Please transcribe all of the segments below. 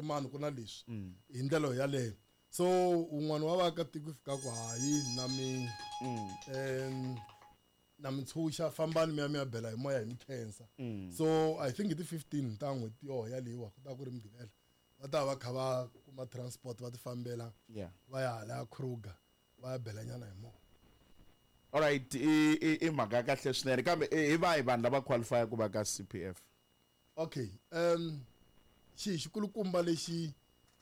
Mani ku na leswi hi ndlela yaleyo. So un'wana wa vaakatiko fika ku hayi na mi na mi tshunxa, fambani mi ya mi ya bela hi moya hi mi khensa. So I think hi ti 15 ta n'hweti yoho yaleyiwa, ku ta ku ri Mugqivela, va ta va kha va kuma transport va ti fambela va ya hala Kruger va ya belanyana hi moya. Alright, i mhaka ya kahle swinene, kambe hi vahi vanhu lava qualify ku va ka CPF? Okay, xi xikulukumba lexi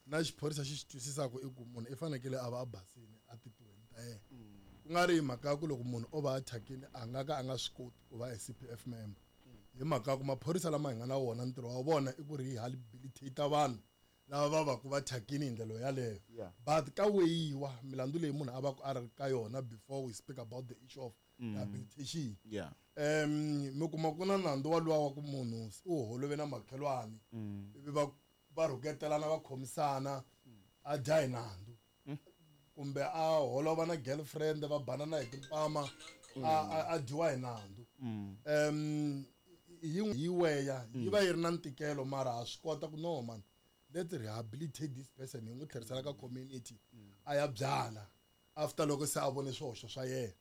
na xiphorisa xi xi twisisaka i ku munhu i fanekele a va a basini a titiweni ta yena, ku nga ri hi mhaka ya ku loko munhu o va a thyakini a nga ka a nga swi koti ku va a CPF member, hi mhaka ya ku maphorisa lama hi nga na wona ntirho wa vona i ku rehabilitate vanhu lava va va ku va thyakini hi ndlela yaleyo. But ka weyiwa milandzu leyi munhu a va ku a ri ka yona before we speak about the issue of rehabilitation. Mi kuma ku na nandzu wa luwa wa ku munhu u holove na makhelwani, ivi va rhuketelana, va khomisana, a dya hi nandzu, kumbe a holova na girlfriend, va banana hi timpama, a dyiwa hi nandzu. Yi weya yi va yi ri na ntikelo, mara ha swi kota ku no man, let's rehabilitate this person, hi n'wi tlherisela ka community a ya byala after loko se a vone swihoxo swa yena.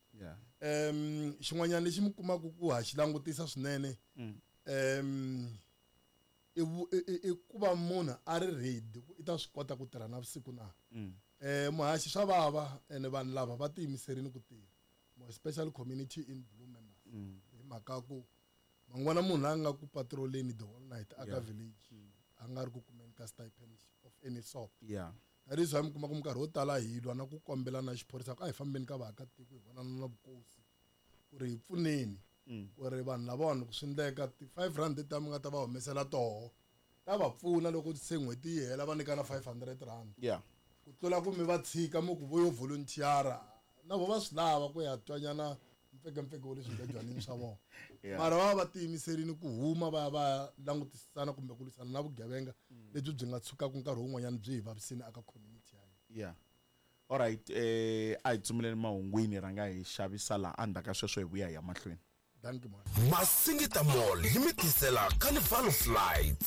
Xin'wanyana lexi mi kumaka ku ha xi langutisa swinene, i ku va munhu a ri ready ku i ta swi kota ku tirha navusiku na. Muhaxi swa vava, ene vanhu lava va tiyimiserile ku tirha, more especially community in blue members, hi mhaka ku mangwana munhu a nga ku patroleni the whole night aka village, a nga ri ku kumeni ka stipend of any sort. That is why mi kuma ku minkarhi yo tala hi lwa na ku kombela na xiphorisa ku a hi fambeni ka vaakatiko, hi vonana na vukosi ku ri hi pfuneni ku ri vanhu lavawani loko swi endleka ti 5 rand leti mi nga ta va humesela toho ta va pfuna loko se n'hweti yi hela va nyikana 500 rand, ku tlula ku mi va tshika mi ku vo yo volunteer-a, na vo va swi lava ku ya twanyana mpfekempfeke wa le swingejwanini swa vona. Mara va va tiyimiserile ku huma va ya va langutisana kumbe ku lwisana na vugevenga lebyi byi nga tshukaka nkarhi wun'wanyana byi hi vavisini aka community ya hina. Alright, a hi tsumeleni mahungwini, rhanga hi xavisa laha, endzhaku ka sweswo hi vuya hi ya mahlweni. Thank you, man. Masingita Mall yi mi tisela Carnival of Lights.